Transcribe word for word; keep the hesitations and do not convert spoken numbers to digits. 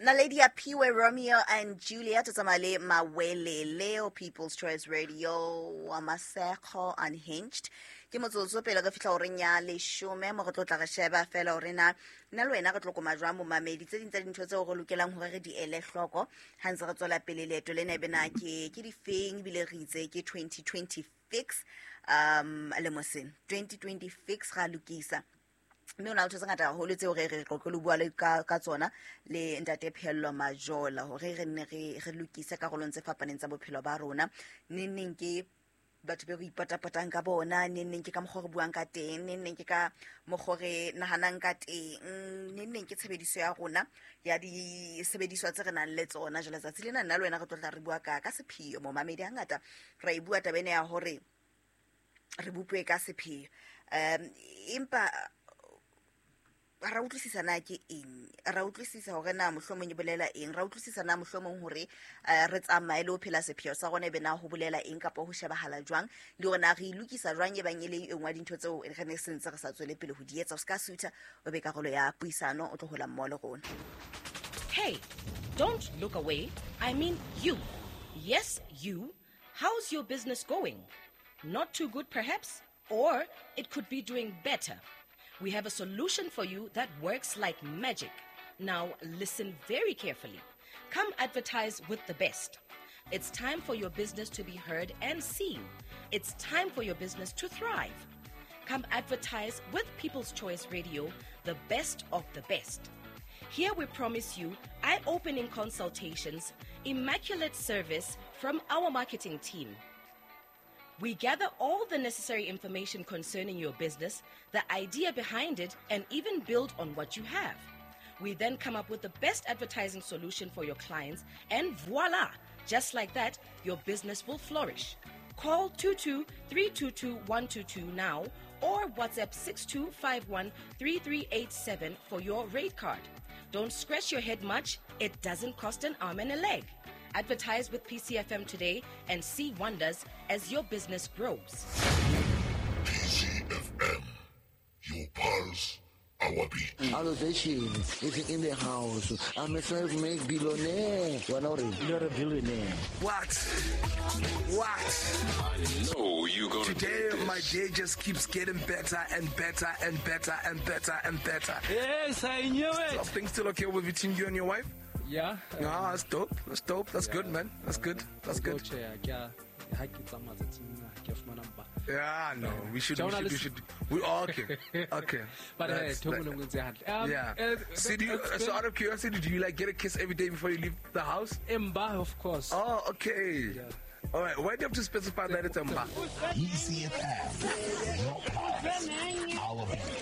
Naledi Aphiwe, Romeo and Juliet, o tsamaya le Mawelele, People's Choice Radio, wa Masego Unhinged. Ke motsotso pele re fihla horeng ya leshome mo re tlo tla re sheba fela hore na nna le wena re tlo koma jwang momamedi. Tse ding tsa dintho tseo re lokelang hore re di ele hloko ha ntse re tswela pele leeto lena ebe na ke ke difeng, ebile re itse ke twenty twenty fix, um lemo sena twenty twenty fix ra lokisa. Mme o na le ntho tse ngata haholo tseo re re qoqe le bua le ka, ka tsona le ntate Pheello Majola hore re nne re, re lokise karolong tse fapaneng tsa bophelo ba rona. Neng neng ke batho be re ipatapatang ka bona, neng neng ke ka mokgwa re buang ka teng, neng neng ke ka mokgwa re nahanang ka teng, neng neng ke tshebediso ya rona ya disebediswa tse re nang le tsona. Jwale tsatsi lena nna le wena re tlo tla re bua ka, ka sepheo. Momamedi hangata ra e bua taba ena ya hore re bopwe ka sepheo. Um, empa ra utlwisisa na ke eng, ra utlwisisa hore na mohlomong e bolela eng, ra utlwisisa na mohlomong hore, eh, re tsamaye le ho phela sepheo sa rona ebe na ho bolela eng kapa ho shebahala jwang, le hore na re e lokisa jwang e bang e le e nngwe ya dintho tseo re ne sentse re sa tswele pele ho di etsa. O ska sutha, o be karolo ya puisano, o tlo hola mmoho le rona. Hey, don't look away. I mean you. Yes, you. How's your business going? Not too good perhaps, or it could be doing better. We have a solution for you that works like magic. Now listen very carefully. Come advertise with the best. It's time for your business to be heard and seen. It's time for your business to thrive. Come advertise with People's Choice Radio, the best of the best. Here we promise you eye-opening consultations, immaculate service from our marketing team. We gather all the necessary information concerning your business, the idea behind it, and even build on what you have. We then come up with the best advertising solution for your clients, and voila! Just like that, your business will flourish. Call two two three two two one two two now or WhatsApp six two five one three three eight seven for your rate card. Don't scratch your head much. It doesn't cost an arm and a leg. Advertise with P C F M today and see wonders as your business grows. P C F M, your pulse, our beat. Elevation is in the house. I'm a self-made billionaire. You're a billionaire. What? What? I know you gonna Today, do this. my day just keeps getting better and better and better and better and better. Yes, I knew it. Are things still okay with between you and your wife? Yeah. Ah, that's dope. That's dope. That's Yeah. good, man. That's good. That's good. Yeah, no, we should, we should, we should. We all okay. Okay. But hey, That's that. um, Yeah. uh, So, do you, it's so been out of curiosity, do you like get a kiss every day before you leave the house? Mba, of course. Oh, okay. Yeah. All right. Why do you have to specify that it's Mba? E C F M, your pulse, our beat.